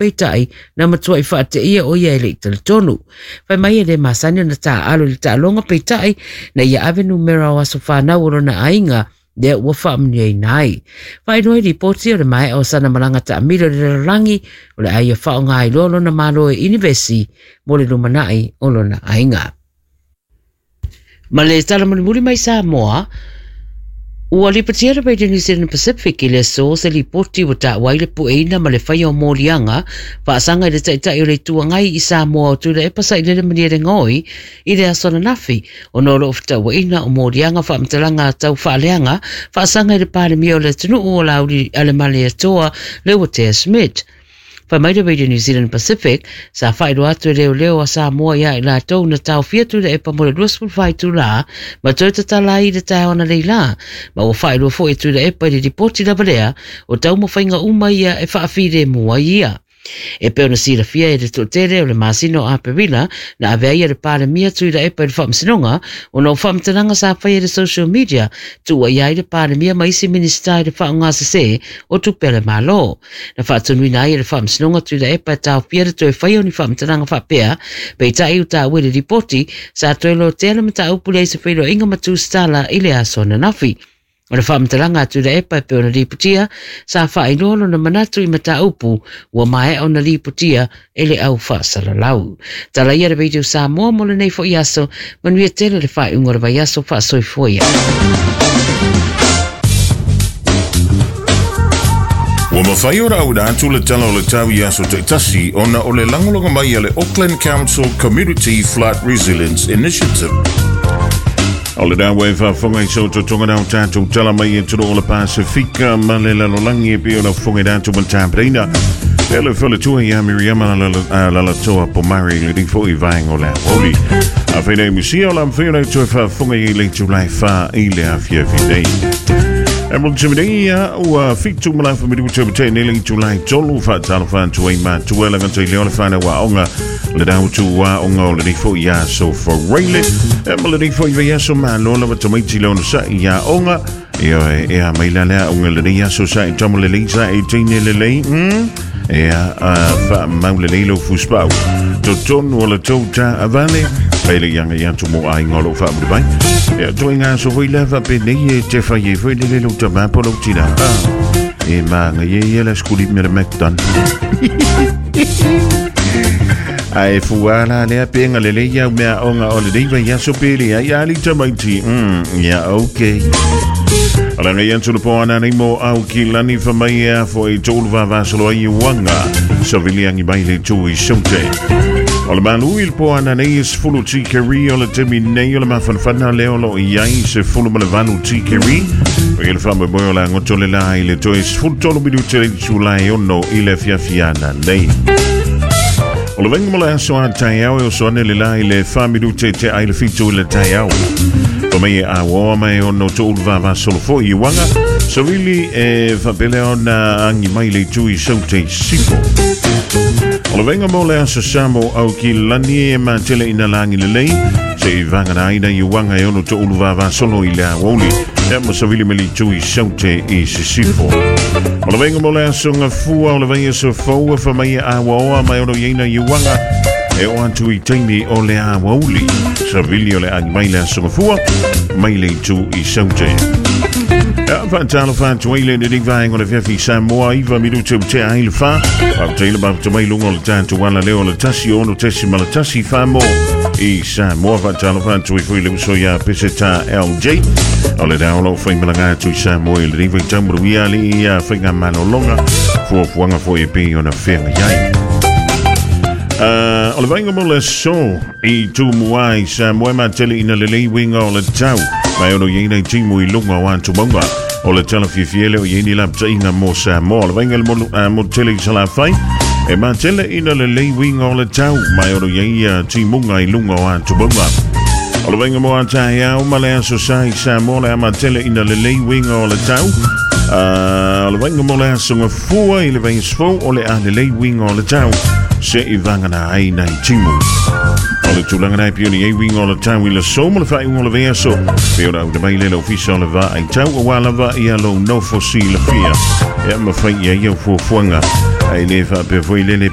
Peitai, na matuai faateia o ia e le i talitonu. Fai mai e le masani ona taaalo i le taaloga, peitai, na ia ave numera o aso fanau o lona aiga lea ua faamanuiaina ai. Faailoa i lipoti o le maea o sana malaga taamilo i le lalolagi, o le a ia faaaoga ai loa lona malo e inivesi mo le lumanai o lona aiga. Ma le tala mulimuli mai Samoa, ua lipotia le Radio New Zealand Pacific i le aso se lipoti ua taua ai le pueina ma le faia o moliaga faasaga i le Taitai o le Itu Agai i Samoa o Tuilaepa Sailele Malielegaoi i le aso ananafi ona o loo fetauaiga o moliaga faamatalaga tau faaleaga faasaga i le Palemia o le atunuu o Laauli Alemaleatoa Leuatea Schmidt. Fai mai le Radio New Zealand Pacific, sa faailoa atu e leoleo a Samoa iā i latou na taofia Tuilaepa mo le 24 itulā ma toe tatala ai i le taeao analeila, ma ua faailoa foi e Tuilaepa i le lipoti lava lea o taumafaiga uma ia e faafilemu ai ia. E pei ona silafia e le toatele o le masina o Aperila na ave ai e le Palemia Tuilaepa i le Faamasinoga ona o faamatalaga sa faia i le social media tuuaia ai le Palemia ma isi Minisita i le faaaogasese o tupe a le Malo. Na faatonuina ai e le Faamasinoga Tuilaepa e taofia le toe faia o ni faamatalaga faapea, peitai ua taua i le lipoti, sa toe lotea le mataupu lea i se feiloaiga ma Tusitala i le aso ananafi. O le faamatalaga a Tuilaepa e pei ona lipotia, sa faailoa lona manatu i mataupu ua maea ona lipotia e le au faasalalau. Tala ia le Radio Samoa mo lenei foi aso, manuia tele le faaiuga o le vaiaso faasoifua ia. Ua mafai ona auina atu le Tala o le Tau i aso taitasi ona o le lagolago mai a le Auckland Council Community Flood Resilience Initiative. O le ua e faafofoga i sa outou na o tatou tala mai e tolo o le Pasifika ma le lalolagi e pei ona fofoga i tatou ma tapenaina. E le faletua ia Miriama Lalatoa Pomari le nei foi vaega o le aoauli. A whainei musia o la mwhai o toe faafofoga i le itulā e 4 i le afiafi nei. E mo te nei ia ua 7 ma lafa minuta o te nei le itulā e 3 whaatalofa atu ai mātua la ngata i leo le whanau aonga Le dau tu wa o ngau le rifo i aso whareile. E ma le rifo i vei aso malo lava tamaiti le ono sa i a onga. E oe, e a mai la lea onga le rei aso sa i tamo le lei sa i teine le lei. E a, a wha mau le lei lo fuspau. Totonu o le tau ta avale. Mai le ianga i atu mo ai ngolo wha amuri mai. E a toi ngā so foi lava pe nei e te whai e foi le le lo tamapo lo tina. E maanga ie ia la skuli me le McDon. Ae fua la lea penga le lei au mea onga o le nei vai aso pele ai ali tamaiti. Ya, okay. Ala ngai atu le poana nei mo au ki lani fa mai e afo i tōlu vavasolo ai i wanga. Sa vili angi mai le tū i saute. O le malu i le poana nei e sefulu tikeri o le temi nei o le mafanafana lea o lo i ai se fulu ma le valu tikeri. O i le faamoemoe o le agoto le la i le toe 13 minute le itulā e 6 i le afiafiana nei. O le vaega mo le aso a taeao e oso ane le la i le 4 minute te ai le 7 i le taeao. Pa mai e aoa mai ono to'ulu vavasolo foi i uaga. Savili e faapelea ona agi mai le itu i saute i sifo. O le vaega mo le aso sa mo au ki lani e matele ina lagi lelei se i vagana ai na i uaga e ono to'ulu vavasolo i le aoauli. Ia ma savili me le itu i saute i sisifo. O le vaega mo le aso gafua o le vaiaso fou e fa mai e aoaoa mai ono i aina i uaga e o atu i taimi o le aoauli. Savili o le agi mai le aso gafua mai le itu i saute. Ia, faatalofa atu ai le lenei vaega o le afiafi i Samoa, 9 minute ua tea ai le 4. Faafetai le mafuta mai luga o le tatou ala leo o le 106.1 Samoa i Samoa. Faatalofa atu ai foi le uso iā Peseta LJ. O le rā o lau faimalaga atu i Samoa i lenei vaitau manuia alii ia faigamalologa fuafuaga foi e pei ona feagai ai. O le vaega mo le aso i Tumua i Samoa e matele ina lelei uiga o le tau. Mai ono i ai nai timu i luga o atu mauga. O le tala fiafia e le o i ai ni lapataiga mo Samoa. O le vaega i le motu tele i Salafai e matele ina lelei uiga o le tau. Mai ono i ai timuga i luga o atu mauga. O le vaega mo a taeao ma le aso sa i Samoa le a matele ina lelei uiga o le tau. O le vaega mo le aso gafua i le vaiaso fou o le a lelei uiga o le tau se i vagana ai nai timu. O le tulaga nei pei ona i ai uiga o le tau i le aso ma le faaiuga o le vaiaso pei ona auina mai lea i le Ofisa o le Vaai Tau aua lava ia lou nofo silafia e mafai i ai au fuafuaga. Ae le faapea foi lele.